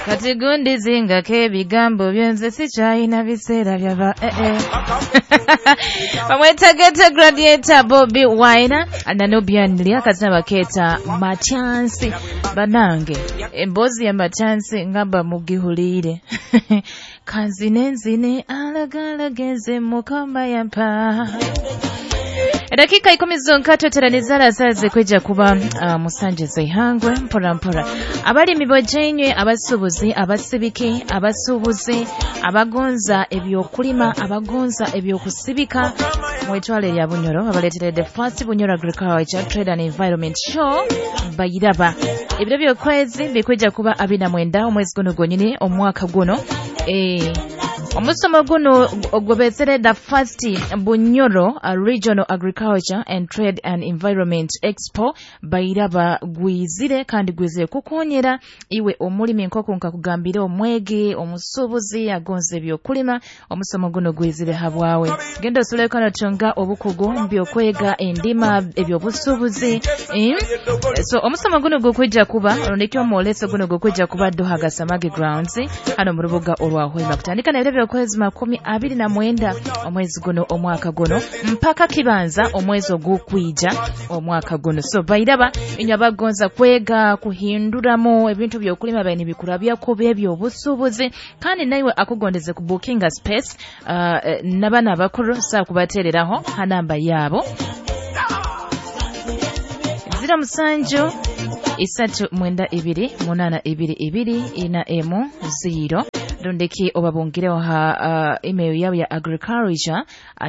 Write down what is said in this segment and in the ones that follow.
Kati gundi zingako ebigambo byo, nze sikyalina biseera byaba Bamweta Ghetto Gladiator Bobi Wine na Nubian Li, akazina bakeeta Machansi. Banange, emboozi ya Machansi ngamba mugihuliire. Kanzine nzine alagalageze Mukama yampa. Edakika 10 zonka tweteranizala zaze kweja kuba musanje zaihangwe mpora mpora. Abalimi bojenywe, abasuubuzi, abasibiki, abasuubuzi, abagonza ebyokulima, abagonza ebyokusibika, mwetwale lya Bunyoro abaleetere the first Bunyoro Agriculture Trade and Environment Show bayiraba. Ebiro by'okwezi bikwijja kuba 29 omwezi guno gwonyini omwaka guno. Omusomo guno ogwebesere the first Bunyoro Regional Agriculture and Trade and Environment Expo bayiraba gwizire kandi gwizire kukonyera iwe omulimi nk'oku nkakugambira, omwegi, omusuubuzi agonza ebyokulima. Omusomo guno gwizire habwawe, genda osuleko notunga obukugu mu byokwega endima, ebyobusuubuzi. So omusomo guno gukwijja kuba rundiki omwoleso guno gukwijja kuba Doha Gasamage Grounds hano mu rubuga orwa Hoima, kutandika na ebiro by'okwezi 29 omwezi guno omwaka guno mpaka kibanza omwezi ogukwija omwaka guno. So bayiraba inywe abagonza kwega kuhinduramu ebintu byokulima bayini bikurabyako by'ebyobusuubuzi, kandi naiwe akugondeze ku bookinga space n'abaana abakuru saa kubateereraho ha namba yaabo 07 3 9 2 8 2 2 4 1 0 rundiki obabungireho ha email yabo ya agriculture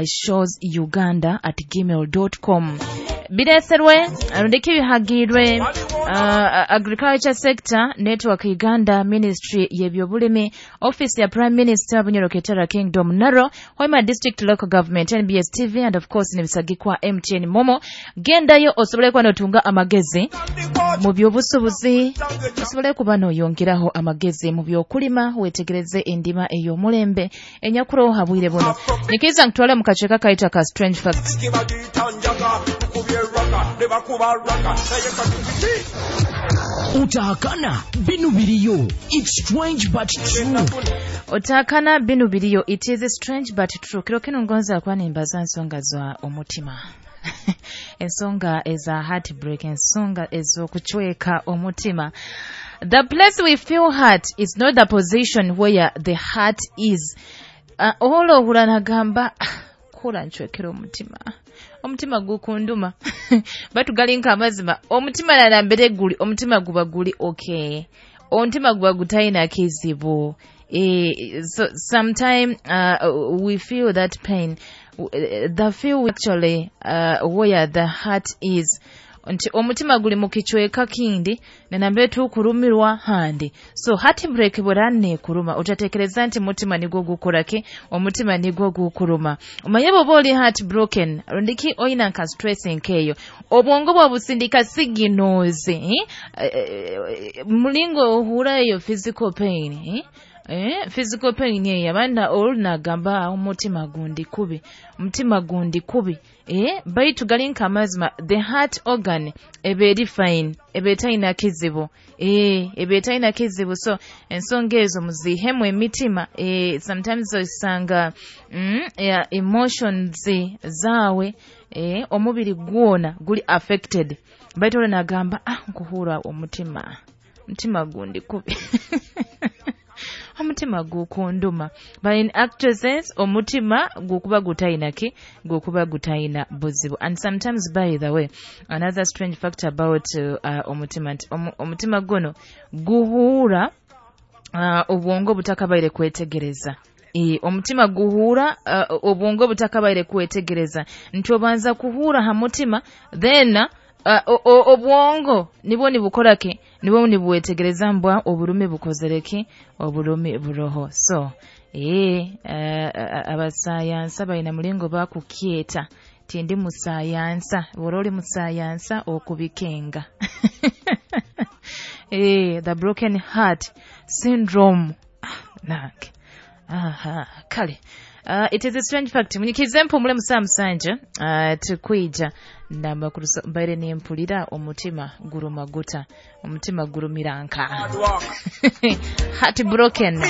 shows uganda at gmail.com. Bireserwe rundiki bihagirwe Agriculture Sector Network Uganda, Ministry y'ebyobulimi, Office ya Prime Minister, Bunyoro Ketara Kingdom, Naro, Hoima District Local Government, NBS TV and of course nebisagikwa MTN Momo. Gendayo osobole kuba notunga amagezi mu byobusuubuzi, osobole kuba noyongeraho amagezi mu byokulima, wetegereze endima ey'omulembe enyakuroho habwire buno. Nikiriza nkutwale mu kacweka kayitwa ka Strange Facts. Utahakana binu biriyo. It's strange but true. Otakana binu biriyo. It is strange but true. Kiro kino ngonza kuba nimbaza nsonga za omutima, ensonga eza heartbreak, ensonga ez'okucweka omutima. The place we feel hurt is not the position where the heart is. Ohola ohura nagamba, "Ah, kula ncwekera omutima, omutima gukunduma." Batu galinka amazima, omutima nalambere guli, omutima guba guli okay, omutima guba gutalina kizibu. So sometime we feel that pain, the feel actually where the heart is, nti omutima guli mu kicweka kindi nanambe tukulumirwa handi. So heartbreak bwera neekuluma, otatekereza nti mutima nigwo gukoraki, omutima nigwo gukuluma. Omanye bw'oba oli heartbroken rundiki oyina nka stress nkeeyo, obwongo bwabusindika signals, eh? Mulingo ohura eyo physical pain, eh? Physical pain eyo abaana olunagamba omutima gundi kubi, omutima gundi kubi, baitu gali nka amazima, the heart organ eba eri fine, eba etalina kizibu, eba etalina kizibu. So ensonga ezo muzihemu emitima. Sometimes osanga yeah, emotions zaawe, omubiri gwona guli affected, baitu olunagamba, "Ah, nkuhura omutima, omutima gundi kubi, omutima gukunduma." But in actual sense omutima gukuba gutayina ki, gukuba gutayina buzibu. And sometimes, by the way, another strange fact about omutima nti omutima guno guhuura obwongo butakabaire kwetegereza. Omutima guhuura obwongo butakabaire kwetegereza, nti obanza kuhuura ha mutima, then obwongo nibwo nibukora ki, nibwo nibwetegereza mbwa oburumi bukozere ki, oburumi buroho. So abasayansa balina mulingo bakukyeta, tindi musayansa, bw'oba oli musayansa okubikenga. The broken heart syndrome. Ah, nange aha kale. It is a strange fact. Munyikize mpumule musaa musanja, tukwija. Namba mbaire nempulira omutima guruma guta, omutima gurumira nka heart broken.